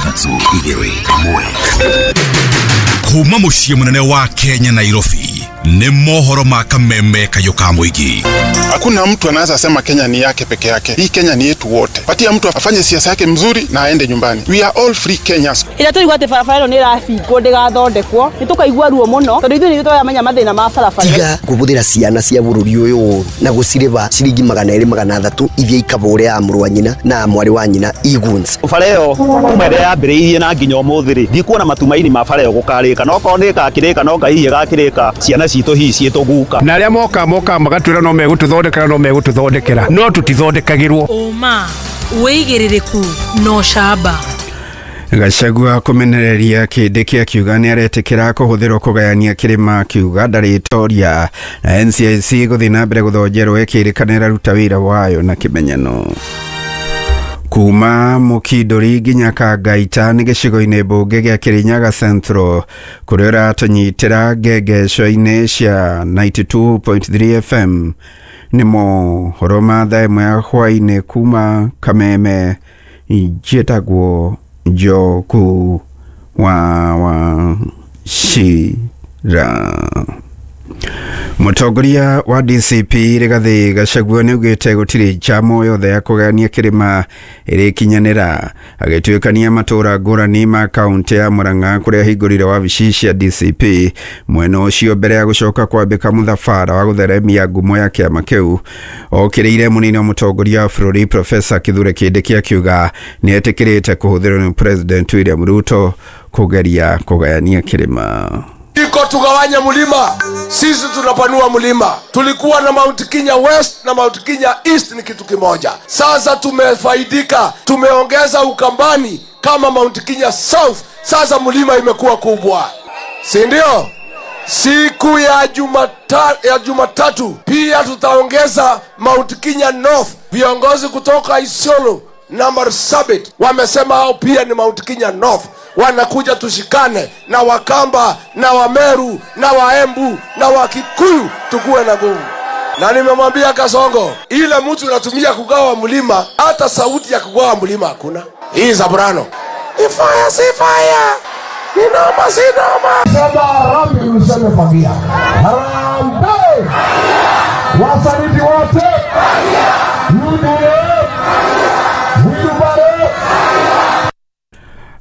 Ithatũ igĩrĩ ĩmwe. Kuma mũciĩ mũnene wa Kenya Nairobi nĩ mohoro ma kameme kayũ ka mũingĩ. Hakuna mtu anaweza sema Kenya ni yake peke yake. Hii Kenya ni yetu wote. Patia mtu afanye siasa yake mzuri na aende nyumbani. We are all free Kenyans. Ira tũigua atĩ barabara ĩno nĩ ĩrabingwo ndĩgathondekwo, nĩ tũkaigua ruo mũno tondũ ithuĩ nĩ tũramenya mathĩna ma barabara. Tiga kũhũthĩra ciana cia bũrũri ũyũ ũru na gũcirĩba ciringi 200 300 ithiĩ ikabũre ya mũrũ wa nyina na mwarĩ wa nyina iguns. Bara ĩyo kuma ĩrĩa yambĩrĩirie na nginya ũmũthĩ rĩ, ndikuona matumaini ma bara ĩyo gũkarĩka, no korwo nĩ ĩgakĩrĩka no Ngai hihi ĩgakĩrĩka ciana citũ hihi ciĩtũguka. Na arĩa moka moka magatwĩra no megũtũthondekera no megũtũthondekera no tũtithondekagĩrwo. Ũma wĩigĩrĩrĩku na ũcamba. Gachagua kũmenereria Kindiki akiuga nĩ aretĩkĩra kũhũthĩrwo kũgayania kĩrĩma akiuga ndarĩtoria na NCIC gũthiĩ na mbere gũthonjerwo ĩkĩrĩkana ĩraruta wĩra wayo na kĩmenyano. Kuma Mukinduri nginya Kangaita nĩ gĩcigo-inĩ mbunge gĩa Kirinyaga Central kũrĩa ũratũnyitĩra ngengeco-inĩ cia 92.3 FM nĩ mohoro ma thaa ĩmwe ya hwaĩ-inĩ kuma Kameme. Njĩtagwo Njoku wa Wachira. Mũtongoria wa DCP Rigathi Gachagua nĩ augĩte gũtirĩ njama yothe ya kũgayania kĩrĩma ĩrĩkinyanĩra, agĩtuĩkania matũra ngũrani ma kaũntĩ ya Murang'a kũrĩa ahingũrire wabici cia DCP mwena ũcio mbere ya gũcoka kwambĩka mũthabara wa gũtheremia ngumo ya kĩama kĩu. Okĩrĩire mũnini wa mũtongoria wa bũrũri Profesa Kithure Kindiki akiuga nĩ etĩkĩrĩte kũhũthĩrwo nĩ President William Ruto kũgeria kũgayania kĩrĩma. Iko tugawanye mlima, sisi tunapanua mlima. Tulikuwa na Mount Kenya West na Mount Kenya East ni kitu kimoja. Sasa tumefaidika, tumeongeza Ukambani kama Mount Kenya South. Sasa mlima imekuwa kubwa, si ndio? Siku ya Jumatatu pia tutaongeza Mount Kenya North. Viongozi kutoka Isiolo na Marsabit wamesema hao pia ni Mount Kenya North. Wanakuja tushikane na Wakamba na Wameru na Waembu na Wakikuyu, tukuwe na nguvu. Na nimemwambia Kasongo, ile mtu unatumia kugawa mlima, hata sauti ya kugawa mlima hakuna. Hii Zabrano ni fire, si fire, ni noma, si noma. Sema harambee, useme fagia. Harambee wasaliti wote, UDA.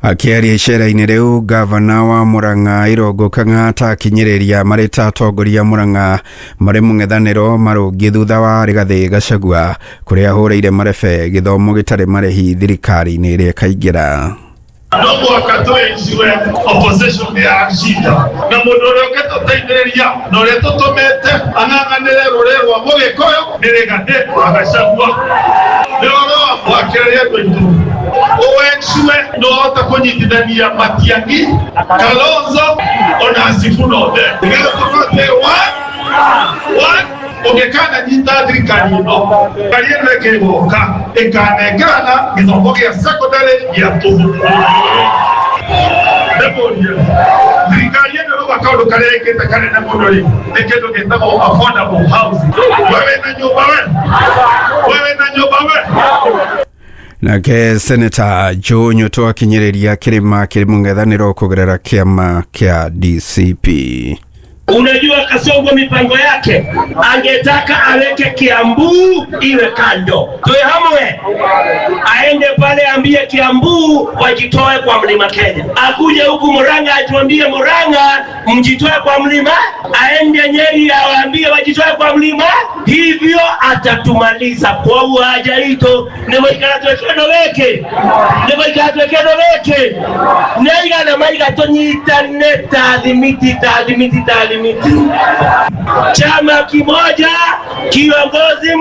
Akĩaria icera-inĩ rĩu, gavana wa Murang'a Irũngũ Kang'ata akinyĩrĩria marĩ ta atongoria Murang'a marĩ mũng'ethanĩro marũngiĩ thutha wa Rigathĩ Gachagua kũrĩa ahũrĩire marebe gĩthomo gĩtarĩ marĩhi thirikari-inĩ ĩrĩa ĩkaingĩra. No mũhaka twĩciwe opposition ya shida na mũndũ ũrĩa ũngĩtũteithĩrĩria na ũrĩa tũtũmĩte ang'ang'anĩre rũrĩrĩ rwa Mũgĩkũyũ nĩ Rigathĩ wa Gachagua. Nĩ ũhoro wa kĩrĩa andũ aitũ ũwecue no ũhote kũnyitithania Matiang'i, Kalonzo ona Sifuna othe nĩgetha tũhote one ũngĩkana nyita thirikari ĩno thirikari ĩno ĩkĩgoka ĩkanengerana gĩthomo gĩa secondary gĩa tũhũ. Ndĩmũrie thirikari ĩno rĩu kaũndũ karĩa ĩkĩte kanene mũno rĩ nĩ kĩndũ gĩtagwo affordable housing. Wewe na nyũmba we, wewe na nyũmba we. Nake Senator Joe Nyoto akinyĩrĩria kĩrĩma kĩrĩ mũng'ethanĩro kũgerera kĩama kĩa DCP. Unajua Kasongo mipango yake angetaka aweke Kiambu iwe kando, tuwe hamwe, aende pale ambie Kiambu wajitoe kwa mlima Kenya, akuje huku Murang'a atuambie Murang'a mjitoe kwa mlima, aende Nyeri awaambie wajitoe kwa mlima. Hivyo atatumaliza kwa uhaja ito nĩmũikara twĩkeno wĩkĩ nĩmũikara twĩkeno wĩkĩ nĩaigana maiga tũnyitane ta thimiti ta thimiti ta thimiti, chama kimoja, kiongozi.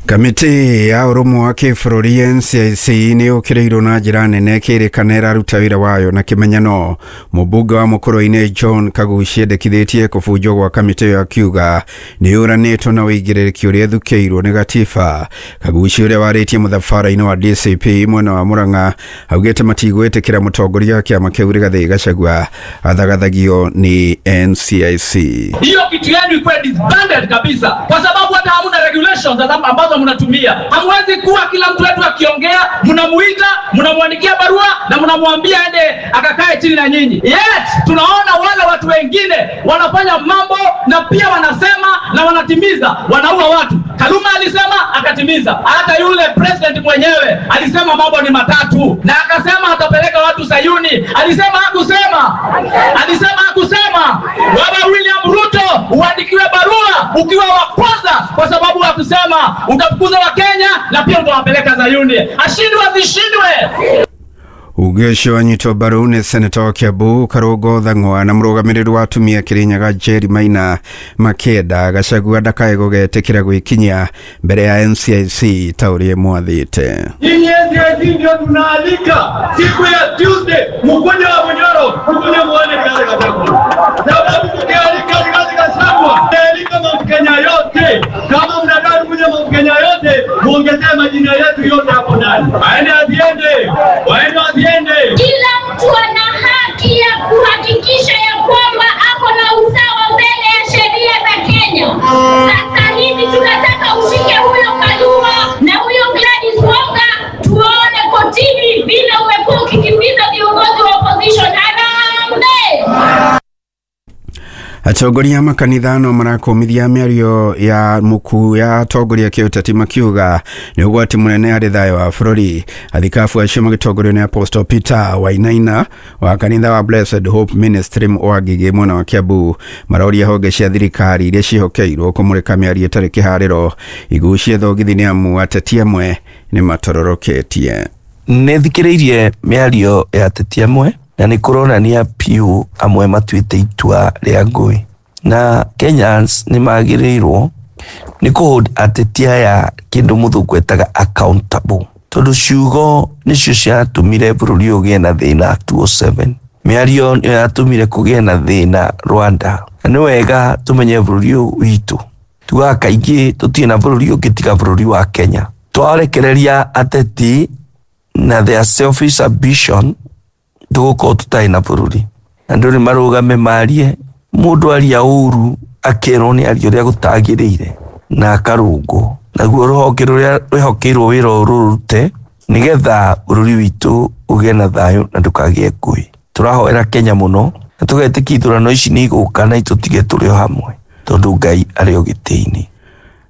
Kamĩtĩ ya ũrũmwe wa kĩbũrũri NCIC nĩ yũkĩrĩirwo na njĩra nene ĩkĩrĩkana ĩraruta wĩra wayo na kĩmenyano. Mũmbunge wa Mũkũrũ-inĩ John Kaguchia endekithĩtie kũbunjwo gwa kamĩtĩ ĩyo akiuga nĩ yũranĩtwo na ũigĩrĩrĩki ũrĩa ĩthukĩirwo nĩ gatiba. Kaguchia ũrĩa warĩtie mũthabara-inĩ wa DCP mwena wa Murang'a augĩte matigwĩtĩkĩra mũtongoria wa kĩama kĩu Rigathĩ Gachagua athagathagio nĩ NCIC. Hiyo kitu yenu ikuwe disbanded kabisa, kwa sababu hata hamuna regulations ambazo ambazo mnatumia. Hamwezi kuwa kila mtu wetu akiongea mnamuita, mnamwandikia barua na mnamwambia aende akakae chini na nyinyi. Yet tunaona wale watu wengine wanafanya mambo na pia wanasema na wanatimiza, wanaua watu. Kaluma alisema akatimiza. Hata yule president mwenyewe alisema mambo ni matatu na akasema atapeleka watu Sayuni. Alisema hakusema? Alisema hakusema? Baba William Ruto, uandikiwe barua ukiwa wa kwanza, kwa sababu hakusema utafukuza wa Kenya na pia utawapeleka Sayuni. Ashindwe asishindwe. Uge wanyitwo mbaru nĩ seneta wa Kiambu Karũngo Thang'wa na mũrũgamĩrĩri wa atumia Kirinyaga Jerry Maina makĩenda Gachagua ndakae gũgetĩkĩra gwĩkinyia mbere ya NCIC ta ũrĩa mwathĩte. Nyinyi NCIC ndio tunaalika siku ya Tuesday mkuje wa Bunyoro, mkuje muone Rigathi Gachagua. Sababu tukialika Rigathi Gachagua, tumealika Mount Kenya yote. Kama mnadai kuja Mount Kenya yote, muongezee majina yetu yote hapo ndani. Aende asiende, waende asiende. Kila mtu ana haki ya kuhakikisha ya kwamba ako na usawa mbele ya sheria za Kenya. Sasa hivi tunataka ushike huyo Kaluma na huyo Gladys Wanga, tuone kotini vile umekuwa ukikimbiza viongozi wa opposition. Harambee! Atongoria a makanitha no marakũmithia mĩario ya mũkuu ya atongoria kĩũteti makiuga nĩ ũgwati mũnene harĩ thayũ wa bũrũri. Athikabu acio magĩtongorio nĩ Apostle Peter Wainaina wa kanitha wa Blessed Hope Ministry wa Ngigĩ mwena wa Kiambu maroria honge cia thirikari iria ciĩhokeirwo kũmũrĩka mĩario ĩtarĩ kĩharĩro igucie thogithi nĩ amu ateti amwe nĩ matororoketie. Nĩ thikĩrĩirie mĩario ya ateti amwe na nĩ kũronania piũ amwe matuĩte itua rĩa ngũĩ, na Kenyans nĩ magĩrĩirwo nĩ kũ-hold ateti aya kĩndũ mũthũngũ etaga accountable, tondũ ciugo nĩcio ciatũmire bũrũri ũgĩe na thĩna 2007. Mĩario nĩyo yatũmire kũgĩe na thĩna Rwanda, na nĩ wega tũmenye bũrũri ũyũ witũ. Tugaga kaingĩ tũtirĩ na bũrũri ũngĩ tiga bũrũri wa Kenya. Twarekereria ateti na their selfish ambition, tũgũkorwo tũtarĩ na bũrũri. Andũ nĩ marũgame marie, mũndũ aria ũru akerwo nĩ aria ũrĩa gũtagĩrĩire na akarũngwo. Naguo rũhonge rũrĩa rwĩhokeirwo wĩra ũyũ rũrute nĩgetha bũrũri witũ ũgĩe na thayũ na ndũkagĩe ngũĩ. Tũrahoera Kenya mũno na tũgetĩkia ithurano ici nĩ igũka na itũtige tũrĩ o hamwe, tondũ Ngai arĩ o gĩtĩ-inĩ.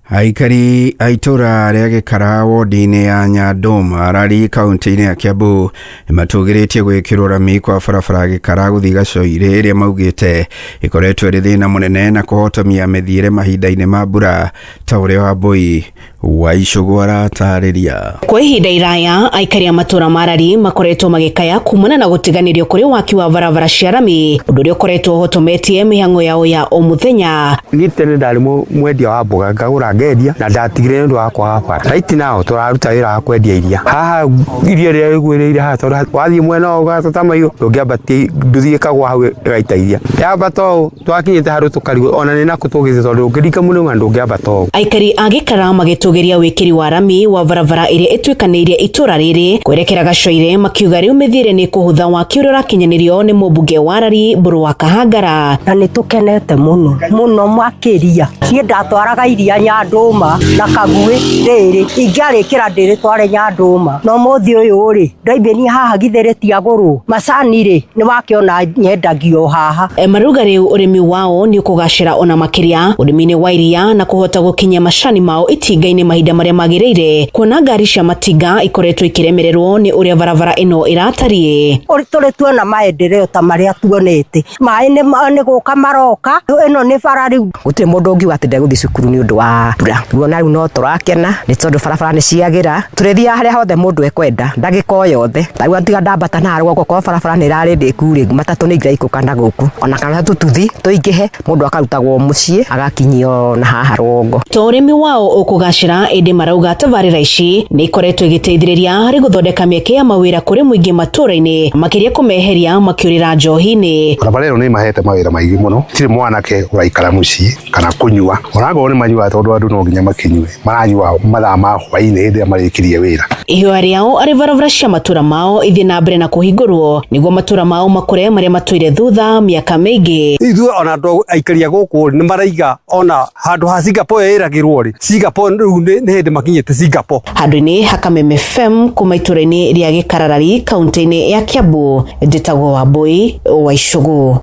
Aikari a itũra rĩa Gĩkara wodi-inĩ ya Nyandũma Rari kaunti-inĩ ya Kiambu nĩmatũgĩrĩtie gwĩkĩrwo rami kwa barabara Gĩkara gũthiĩ Gacoirĩ ĩrĩa maugĩte ĩkoretwo ĩrĩ thĩna mũnene na kũhotomia mĩthiĩre mahinda-inĩ ma mbura ta ũrĩa Wambui wa Icũgũ aratarĩria. Kwa ihinda iraya aikari a matũra ma Rari makoretwo magĩkaya kumana na gũtiganĩrio kũrĩ waki wa barabara cia rami, ũndũ ũrĩa ũkoretwo ũhotometie mĩhang'o yao ya o mũthenya. Niĩ tene ndarĩ mwendia wa mboga ngagũra ngendia na ndatigire nĩ ũndũ wa kwaga bara. Right now tũraruta wĩra wa kwendia iria haha, iria rĩrĩa rĩgwĩrĩire haha, tondũ wathiĩ mwena ũyũ ũgatata mahiũ ndũngĩambatia nduthi ĩkagwa hau ĩgaita iria yambata ũũ twakinyĩte handũ tũkarigwo ona nĩ nakũ tũgĩthiĩ tondũ ũngĩringa mũrĩma ndũngĩambata ũũ. Aikari a Gĩkara magĩtũgĩria wĩkĩri wa rami wa barabara ĩrĩa ĩtuĩkanĩirie itũra rĩrĩ kwerekera Gacoire makiuga rĩu mĩthiĩre nĩ kũhũtha waki ũrĩa ũrakinyanĩrio nĩ mũmbunge wa Rari Mbũrũ wa Kahangara. Na nĩ tũkenete mũno mũno makĩria. Niĩ ndatwaraga iria Nyandũma na Kaguĩ rĩrĩ ingĩarĩkĩra ndĩrĩtware Nyandũma, no mũthĩ ũyũ rĩ ndoimĩnia haha githĩ rĩtiagũrwo macani rĩ nĩ wakĩona nyendagio haha. Marauga rĩu ũrĩmi wao nĩ ũkũgacĩra ona makĩria ũrĩmi-inĩ wa iria na kũhota gũkinyia macani mao itinga-inĩ mahinda marĩa magĩrĩire, kuona ngari cia matinga ikoretwo ikĩremererwo nĩ ũrĩa barabara ĩno ĩratariĩ. Tũrĩ tuona maendeleo ta marĩa tuonete, maĩ nĩ gũka maroka, ĩno nĩ bara rĩu. Gũtirĩ mũndũ ũngiuga atĩ ndegũthiĩ cukuru nĩ ũndũ wa mbura. Guona rĩu no tũrakena nĩ tondũ barabara nĩ ciagĩra, tũrĩthiaga harĩa hothe mũndũ ekwenda ndagĩka o yothe. Ta rĩu tiga ndambata na rũgongo korwo barabara nĩ ĩrarĩ ndĩku rĩ, matatũ nĩ ingĩraikũrũka na gũkũ ona kana tũtuthi tũingĩhe, mũndũ akarutagwo mũciĩ agakinyio na haha rũgongo. To ũrĩmi wao ũkũgacĩra, ĩndĩ marauga tabarĩra ici nĩ ikoretwo igĩteithĩrĩria harĩ gũthondeka mĩeke ya mawĩra kũrĩ mũingĩ matũra-inĩ, makĩria kũmeheria makĩũrĩra njohi-inĩ. Barabara ĩno nĩ ĩmahete mawĩra maingĩ mũno, tirĩ mwanake ũraikara mũciĩ kana kũnyua, onakorwo nĩ manyuaga tondũ andũ no nginya makinyue, maranyua mathaa ma hwaĩ-inĩ hĩndĩ ĩrĩa marĩkirie wĩra. Ihoya rĩao arĩ barabara cia matũra mao ithiĩ na mbere na kũhingũrwo nĩguo matũra mao makũre marĩa matũire thutha mĩaka mĩingĩ. Ithuĩ ona andũ aikaria gũkũ nĩ maraiga ona handũ ha Singapore ĩragĩrwo rĩ, Singapore rĩu Rĩu nĩ hĩndĩ makinyĩte Singapore. Handũ-inĩ ha Kameme FM kuma itũra-inĩ rĩa Gĩkararari kaunti-inĩ ya Kiambu, njĩtagwo Wambui wa Icũgũ.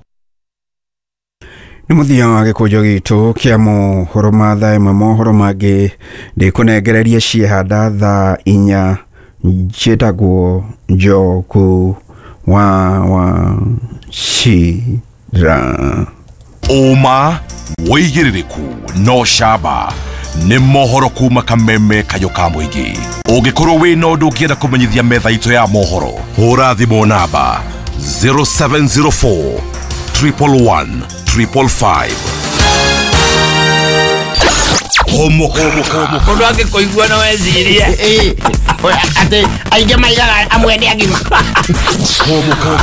Nĩ mũthia wa gĩkũnjo gitũ kĩa mohoro ma thaa ĩmwe. Mohoro mangĩ ndĩkũnengereria ciehanda thaa 4. Njĩtagwo Njogu wa Wachira. Ũma wĩigĩrĩrĩku no camba nĩ mohoro kuma Kameme kayũ ka mũingĩ. Ũngĩkorwo wĩna ũndũ ũngĩenda kũmenyithia metha itũ ya mohoro, hũra thimũ namba 0704 111 555. Homoka. Mũndũ angĩkũigua no ecirie atĩ aingĩ maigaga amwe nĩ agima.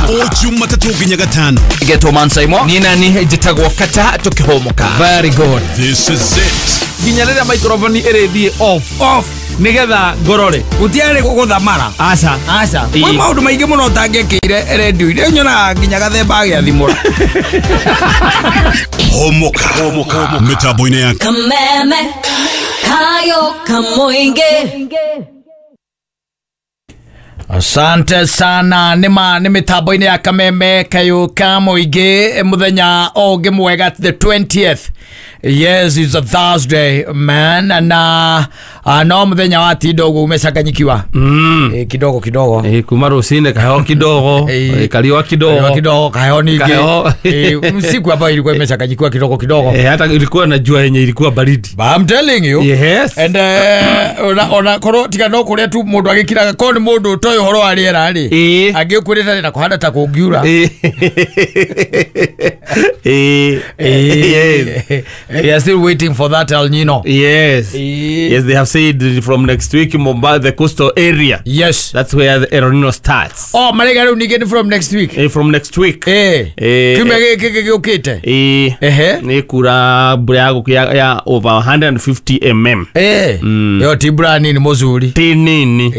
O Jumatatũ nginya Gatano. Getwo Mansaimo. Niĩ nani njĩtagwo Kata tũkĩhũmũka. Very good. This is it. Nginya rĩrĩa microphone ĩrĩthiĩ off nigetha ngorore gutiarĩ gũthamara. Aca aca kwĩ maũndũ maingĩ mũno ũtangĩkĩire redio-inĩ nyonaga nginya gathemba agĩathimũra. Homoka mĩtambo-inĩ ya Kameme kayo kamoinge. Asante sana. Nĩma nĩ mĩtambo-inĩ ya Kameme kayo kamoinge mũthenya ũngĩ mwega, the 20th. Yes, it's a Thursday, man. Na no muthenya wa tinda uguo umechanganyikiwa. Kidogo kidogo. Kuma rucine kaheho kidogo, kariwa kidogo. Kidogo kaheho ningi. Siku hapa ilikuwa imechanganyikiwa kidogo kidogo. Hata ilikuwa na jua yenye ilikuwa baridi. But I'm telling you. Yes. And ona koro tiga no kuria tu mundu agikiraga ko ni mundu utoĩ ũhoro wa rĩera rĩ. Angĩkwĩrĩte na kũhanda ta kũngiura. Yes. We are still waiting for that El Nino. Yes. Yes, they have said from next week Mombasa, the coastal area. Yes. That's where the El Nino starts. Oh, marega rĩu ningĩ from next week. From next week. Kiumia gĩkĩ gĩũkĩte. Nĩ kura mbura ya over 150 mm. Yo ti mbura nini mũzuri. Ti nini.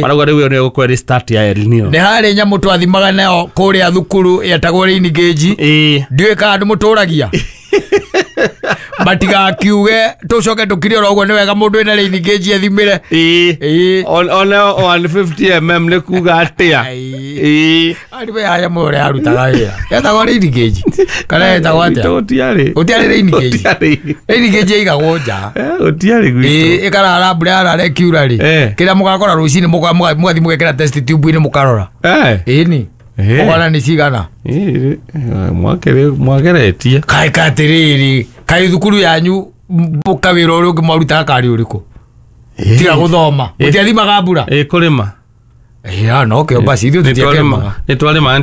Marauga rĩu ĩyo nĩyo gũkorwo ĩrĩ start ya El Nino. Nĩ harĩ nyamũ twathimaga nayo kũrĩa thukuru yetagwo rain gauge. Ndiũĩ kana andũ mũtũragia. Matigakiuge tucoke tukire oro ũguo nĩ wega mũndũ wĩna rain gauge ethimĩre. Ona 150 mm nĩ kuga atĩa? Arĩ we haya mũndũ ũrĩa arutaga wĩra yetagwo rain gauge kana yetagwo atĩa? Gũtiarĩ rain gauge. Rain gauge ĩigagwo nja. Gũtiarĩ gwitũ. Ĩkarara mbura yarara ĩkiura rĩ, kĩrĩa mũgakora rũcinĩ mũgathiĩ mũgekĩra test tube-inĩ mũkarora. Ĩni ũkona nĩ cigana. Mwageretie. Kaĩ katĩrĩrĩ, kaĩ thukuru yanyu kawĩra ũrĩa ũngĩ mwarutaga karĩ ũrĩkũ? Tiga gũthoma. Mũtiathimaga mbura? Kũrĩma. No kĩo basi ithuĩ tũtiakĩrĩmaga. Nĩ twarĩmaga,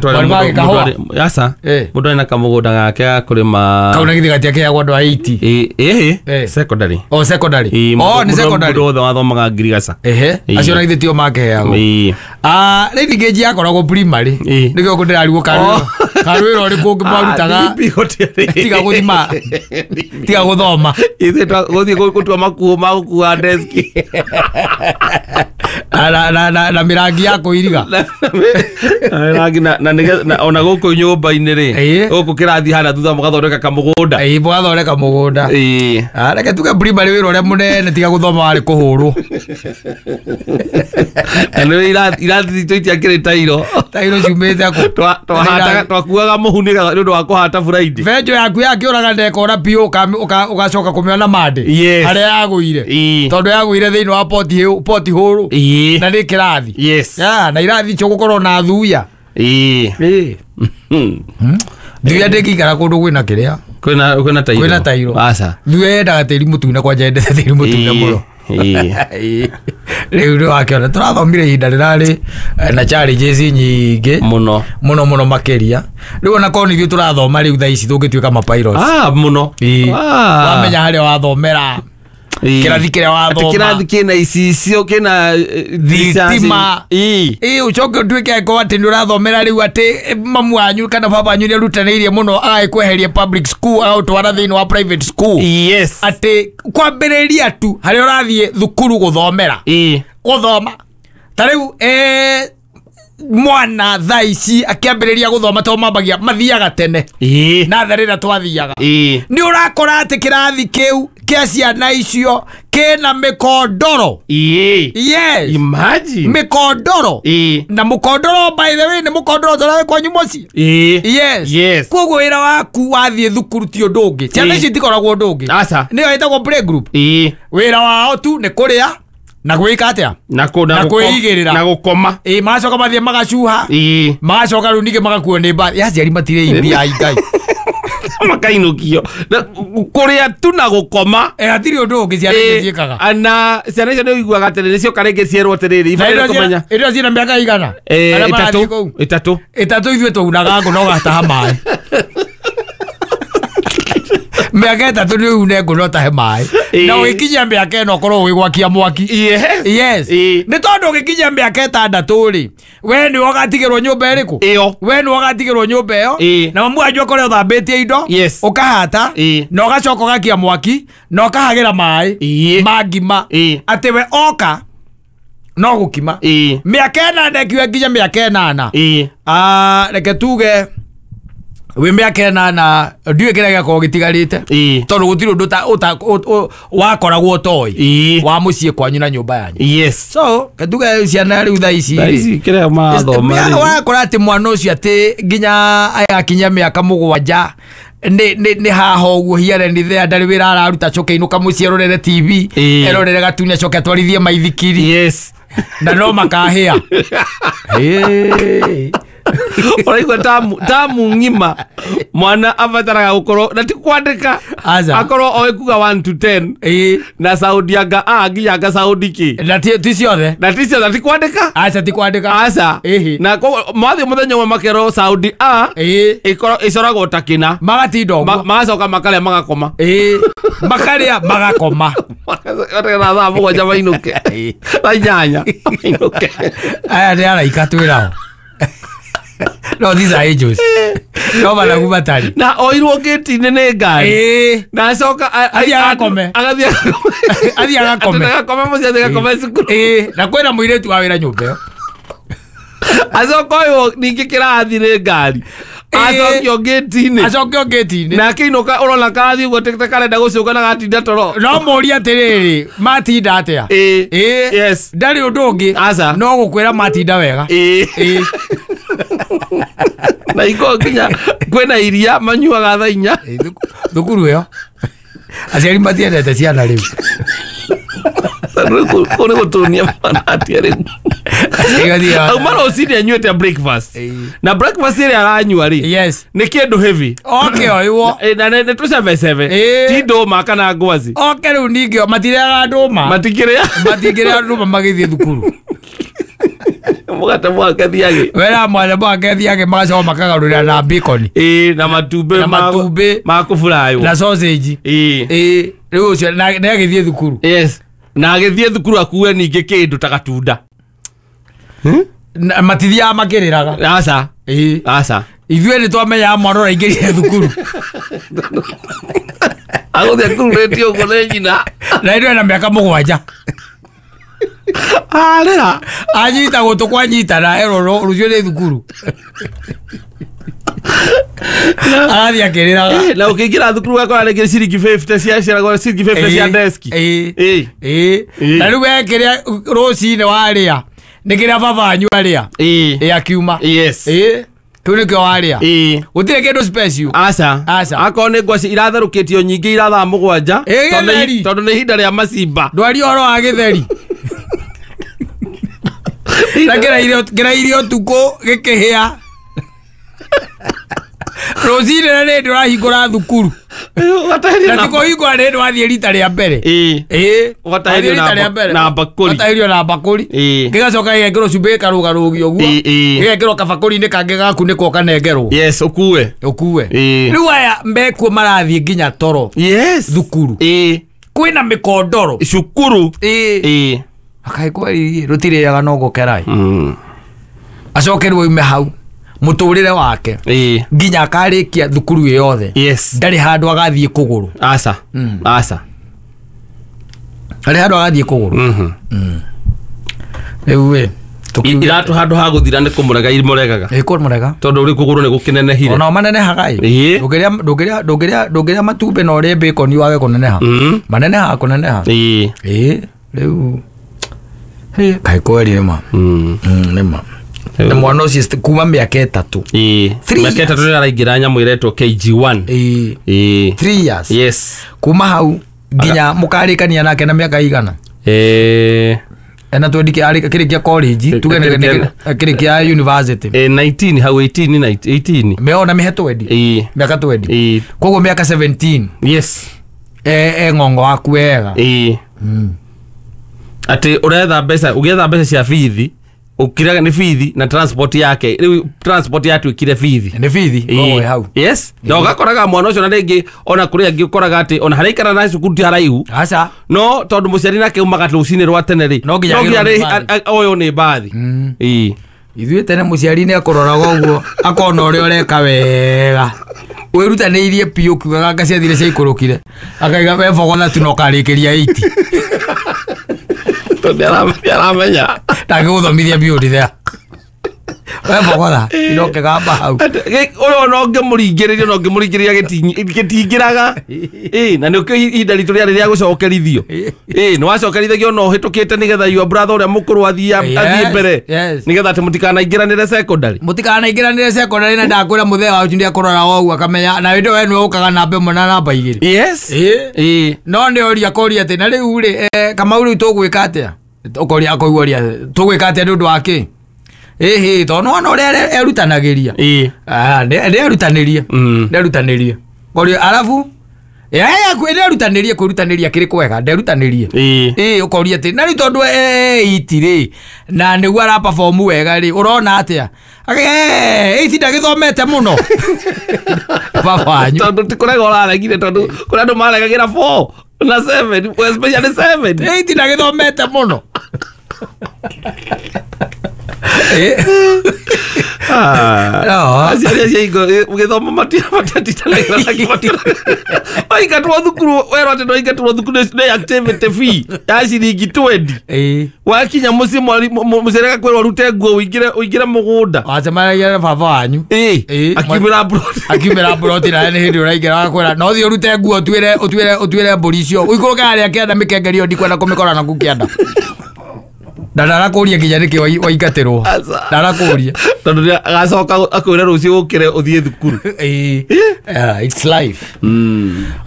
aca. Mũndũ arĩ na kamũgũnda gake ga kũrĩma. Kau na githĩ gatiakĩheagwo andũ a 80? Secondary. O secondary. O nĩ secondary. Mũndũ wothe wathomaga ngirigaca. Acio na githĩ tio makĩheagwo. Rain gauge yakoragwo primary. Nĩkĩo ndĩrarigwo karwĩra ũrĩkũ ũngĩ mwarutaga tiga gũthima tiga gũthoma. Ithuĩ gũthiĩ gũtua makuo ma gũkua deski. Na mĩrangi ya kũiriga. Na ona gũkũ nyũmba-inĩ rĩ, gũkũ kĩrathi harĩa thutha mũgathondeka kamũgũnda. Mũgathondeka mũgũnda. Reke tuge primary wĩra ũrĩa mũnene tiga gũthoma warĩ kũhũrwo. Na nĩ irathi citũ itiakĩrĩ tairo. Tairo ciumĩte kũ? Twakuaga mũhu nĩ ũndũ wa kũhata Friday. Benjo yaku yakĩũraga ndekora biũ ũgacoka kũmĩona Monday. Harĩa yagũire. Tondũ yagũire thĩinĩ wa poti hũrũ. Na nĩ kĩrathi. Yes. Na irathi icio gũkorwo na thuya. Thuya ndĩngĩikara kũndũ kwĩna kĩrĩa. Kwĩna tairo. Kwĩna tairo. Aca. Thuya yendaga tĩri mũtune, kwanja yendete tĩri mũtune mũno. Rĩu nĩ wakĩona tũrathomire ihinda rĩrarĩ na challenges nyingĩ mũno mũno mũno makĩria. Rĩu ona korwo nĩ ithuĩ tũrathoma rĩu thaa ici tũngĩtuĩka mapilots. Mũno. Wamenya harĩa wathomera. Kĩrathi kĩrĩa wathoma. Kĩrathi kĩna icicio kĩna thitima. Ũcoke ũtuĩke angĩkorwo atĩ nĩ ũrathomera rĩu atĩ mamu wanyu kana baba wanyu nĩ arutanĩirie mũno agagĩkweheria public school agagũtwara thĩinĩ wa private school. Yes. Atĩ kwambĩrĩria tu harĩa ũrathiĩ thukuru gũthomera. Gũthoma. Ta rĩu Mwana thaa ici akĩambĩrĩria gũthoma to mambagia mathiaga tene na tharĩra twathiaga nĩ ũrakora atĩ kĩrathi kĩu kĩa ciana icio kĩna mĩkondoro. Yes. Imagine. Mĩkondoro. Na mũkondoro by the way nĩ mũkondoro tũrĩa wĩ kwanyu mũciĩ. Yes. Yes. Koguo wĩra waku wathiĩ thukuru ti ũndũ ũngĩ. Ciana ici itikoragwo ũndũ ũngĩ. Aca. Nĩyo ĩtagwo play group. Wĩra wao tu nĩ kũrĩa na gwĩka atĩa? Na kwĩigĩrĩra. Na gũkoma. Magacoka mathiĩ magacuha. Magacoka rĩu ningĩ magakuo nĩ mbathi. Aciari matirĩ imbia ai Ngai. Makainũkio. Kũrĩa tu na gũkoma. Hatirĩ ũndũ ũngĩ ciana icio ciĩkaga. Na ciana icio nĩ ũiguaga atĩrĩrĩ cioka rĩngĩ cierwo atĩrĩrĩ ibataire kũmenya. Ĩrĩa ciĩna mĩaka igana? Ĩtatũ. Ĩtatũ ithuĩ twaunaga ngũ na ũgataha maĩ. Mĩaka ĩtatũ nĩ une ngũ na ũtahe maĩ. Na ũgĩkinyia mĩaka ĩno ũkorwo ũgĩgwakia mwaki. Yes. Nĩ tondũ ũgĩkinyia mĩaka ĩtandatũ rĩ, we nĩwe ũgatigĩrwo nyũmba ĩrĩkũ? Ĩyo. We nĩwe ũgatigĩrwo nyũmba ĩyo. Na mamu wanyu akorwo ũthambĩtie indo. Ũkahata. Na ũgacoka ũgakia mwaki na ũkahagĩra maĩ ma ngima. Atĩ we oka no gũkima. Mĩaka ĩnana ĩkiuga nginya mĩaka ĩnana. Reke tuge wĩ mĩaka ĩnana ndiũĩ kĩrĩa gĩakorwo gĩtigarĩte tondũ gũtirĩ ũndũ wakoragwo ũtoĩ wa mũciĩ kwanyu na nyũmba yanyu. Yes. So ketuge ciana rĩu thaa ici Thaa ici kĩrĩa marathoma rĩu. Wakora atĩ mwana ũcio atĩ nginya agakinya mĩaka 7 nĩ haha ũguo here nĩ there ndarĩ wĩra araruta acoke inũka mũciĩ erorere TV erorere gatuni acoke atwarithie maithikiri. Yes. Na no makahĩa. Ũraigua tamu ng'ima mwana abataraga gũkorwo na ti kwandĩka akorwo oĩ kuga 1 to 10 na saundi anga a nginya anga saundi k na ti ciothe na ti ciothe ti kwandĩka. Aca ti kwandĩka. Aca. Na mathiĩ mũthenya ũmwe makerwo saundi a ĩcoragwo ta kĩna magatinda ũguo magacoka makarĩa magakoma. Makarĩa magakoma. Na thaa 7 mainũke thaa 8 mainũke. Aya nĩ araika twĩrao. No these are angels. No managu matari. Na oirwo gate-inĩ nĩ ngari. Na acoka athiĩ agakome. Athiĩ agakome. Agakome mũciĩ athiĩ agakome cukuru. Na kwĩna mũirĩtu wa wĩra nyũmba ĩyo. Acoka oirwo ningĩ kĩrathi nĩ ngari. Acokio gate-inĩ. Acokio gate-inĩ. Na akĩinũka ũrona karathiĩ ũguo ta karenda gũcũka na gatinda toro. No mũrie atĩrĩrĩ matinda atĩa? Yes. Ndarĩ ũndũ ũngĩ. Aca. No gũkwĩra matinda wega. Na iko nginya kwĩna iria manyuaga thaa 4. Thukuru ĩyo aciari matiendete ciana rĩu. Kũu nĩ gũtũnia mwana atĩa rĩu. Auma rũcinĩ anyuĩte breakfast. Na breakfast ĩrĩa aranyua rĩ nĩ kĩndũ heavy. Oke oiwo. Na nĩ tũcebecebe. Ti ndũma kana ngwaci. Oke rĩu ningĩ matirĩaga ndũma. Matikĩrĩa. Matingĩrĩa ndũma magĩthiĩ thukuru. Mũgate mwake thiage. Wera mwana mwake thiage magacoka makagarũrĩra na bacon. Na matumbĩ. Na matumbĩ ma kũburaywo. Na sausage. Rĩu ũcio na agĩthiĩ thukuru. Yes. Na agĩthiĩ thukuru akue ningĩ kĩndũ ta gatunda. Matithiaga makĩrĩraga. Aca. Aca. Ithuĩ nĩ twamenyaga mwana ũraingĩrire thukuru. Agũthiĩ akururĩtio ũguo nĩ nyina. Na ithuĩ na mĩaka 7. Arĩra. Anyita gũtũ kwanyitana erwo rũciũ nĩ thukuru. Arathiĩ akĩrĩraga. Na ũkĩingĩra thukuru ũgakora rĩngĩ ciringi 50 cia ciaragwo ciringi 50 cia deski. Na rĩu we kĩrĩa rũcinĩ warĩa nĩ kĩrĩa baba wanyu arĩa. Akiuma. Yes. Kĩu nĩkĩo warĩa. Gũtirĩ kĩndũ special. Aca. Aca. Akorwo nĩ ngwaci iratherũkĩtio nyingĩ ira thaa 7. Gĩtheri. Tondũ nĩ ihinda rĩa macimba. Ndwari ũhoro wa gĩtheri. Na kĩrairio ũtukũ gĩkĩhĩa. Rũcinĩ na nĩ ndũrahingũra thukuru. Na ti kũhingũra nĩ ndwathiĩ rita rĩa mbere. Ũgatahĩrio na mbakũri. Ũgatahĩrio na mbakũri. Gĩgacoka gĩgekĩrwo cumbĩ gĩkarũgarũgio ũguo. Gĩgekĩrwo kabakũri-inĩ kangĩ gakunĩkwo kanengerwo. Yes, ũkue. Ũkue. Rĩu aya mekuo marathiĩ nginya toro. Yes. Thukuru. Kwĩna mĩkondoro. Cukuru. Akaĩ kweri rũtirĩaga no gũkera. Acoke rĩu oime hau mũtũrĩre wake nginya akarĩkia thukuru ĩ yothe. Ndarĩ handũ agathiĩ kũgũrũ. Aca. Aca. Ndarĩ handũ agathiĩ kũgũrũ. Rĩu ĩ Iratu handũ ha gũthira nĩ kũmũrega imũregaga. Ĩ kũmũrega. Tondũ ũrĩ kũgũrũ nĩ gũkĩnenehire. Ona manenehaga ĩ. Ndũngĩrĩa matumbĩ na ũrĩe bacon wage kũneneha. Manenehaga kũneneha. Ĩ. Ĩ rĩu kaĩ kweri nĩ ma. Nĩ ma. Na mwana ũcio kuma mĩaka 3. Ĩ. Mĩaka 3 nĩ araingĩra nyamũ ĩretwo KG1. Ĩ. Ĩ. 3 years. Yes. Kuma hau nginya mũkarĩkania nake na mĩaka igana. Ena twendi akĩrĩkia college tuge akĩrĩkia university. 19 hau 18 18. Meona mĩhe twendi. Ĩ. Mĩaka twendi. Ĩ. Koguo mĩaka 17. Yes. Ng'ongo waku wega. Ĩ. Atĩ ũretha mbeca ũgĩetha mbeca cia bithi ũkiraga nĩ bithi na transport yake rĩu transport yatuĩkire bithi. Nĩ bithi koguo hau. Yes. Na ũgakoraga mwana ũcio na rĩngĩ ona kũrĩ angĩ ũkoraga atĩ ona harĩa aikara na cukuru ti haraihu. Aca. No tondũ mũciari nake umaga rũcinĩ rwa tene rĩ. No nginya ũyũ nĩ mbathi. Ĩ. Ithuĩ tene mũciari nĩ akũroraga ũguo akona ũrĩa ũreka wega. Wĩrutanĩirie biũ ũkiugaga anga ciathire ciaikũrũkire. Akaiga we bogotha tu na ũkarĩkĩria 80. Tondũ aramenya. Ndangĩgũthomithia biũ ndithea. We bogotha ino kĩgamba hau. Ũyũ ona ũngĩmũringĩrĩria ona ũngĩmũringĩrĩria gĩtingĩraga. Ĩ na nĩkĩo ihinda ritũ rĩarĩ rĩa gũcokerithio. Ĩ nĩ wacokerithagio ona ũhĩtũkĩte nĩgetha your brother ũrĩa mũkũrũ athiĩ mbere. Nĩgetha atĩ mũtikanaingĩranĩre secondary. Mũtikanaingĩranĩre secondary na ndakwĩra mũthee wanyu nĩakũroraga ũguo akamenya na hĩndĩ we nĩwe ũkaga namba 1 na namba 2. Yes. Ĩ. No nĩ oria koria atĩ na rĩu rĩ Kamau rĩu tũgwĩka atĩa? Ũkoria akoigua ũria tũgwĩka atĩa nĩ ũndũ wa kĩ? Ĩhĩ tondũ nĩwona ũrĩa erutanagĩria. Ĩ. Nĩerutanĩrie. Nĩerutanĩrie. Koria arabu nĩerutanĩrie kwĩrutanĩria kĩrĩ kwega nderutanĩrie. Ĩ ũkoria atĩ na rĩu tondũ eight rĩ na nĩguo ara perform wega rĩ ũrona atĩa? Eight ndagĩthomete mũno. Baba wanyu. Tondũ ti kũrega ũraregire tondũ kũrĩ andũ maregagĩra 4 na 7 especially 7. Eight ndagĩthomete mũno. Aciari acio hingo gĩthomo matiatindanagĩra nakĩo. Waingatwo thukuru werwo atĩ nĩwaingatwo thukuru nĩ activity fee ya ciringi 20. Wakinya mũciĩ mũciari agakwĩra ũrute nguo ũingĩre mũgũnda. Wacemanagia na baba wanyu. Akiumĩra mburoti. Akiumĩra mburoti nawe nĩ hĩndĩ ũraingĩra agakwĩra no thiĩ ũrute nguo ũtuĩre mbũri icio ũikũrũke harĩa kĩanda mĩkengeri ĩyo ndikwenda kũmĩkora naku kĩanda. Na ndarakũria nginya nĩkĩ waingatĩrwo. Ndarakũria. Tondũ nĩ agacoka akwĩre rũciũ ũkĩre ũthiĩ thukuru. It's life.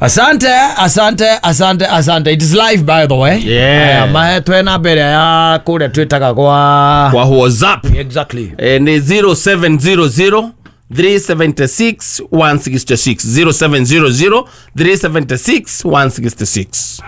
Asante, asante, asante, asante. It is life by the way. Yeah. Mahe twena mbere ya kũrĩa twĩtaga kwa WhatsApp. Exactly. Ni 0700 376 166 0700 376 166.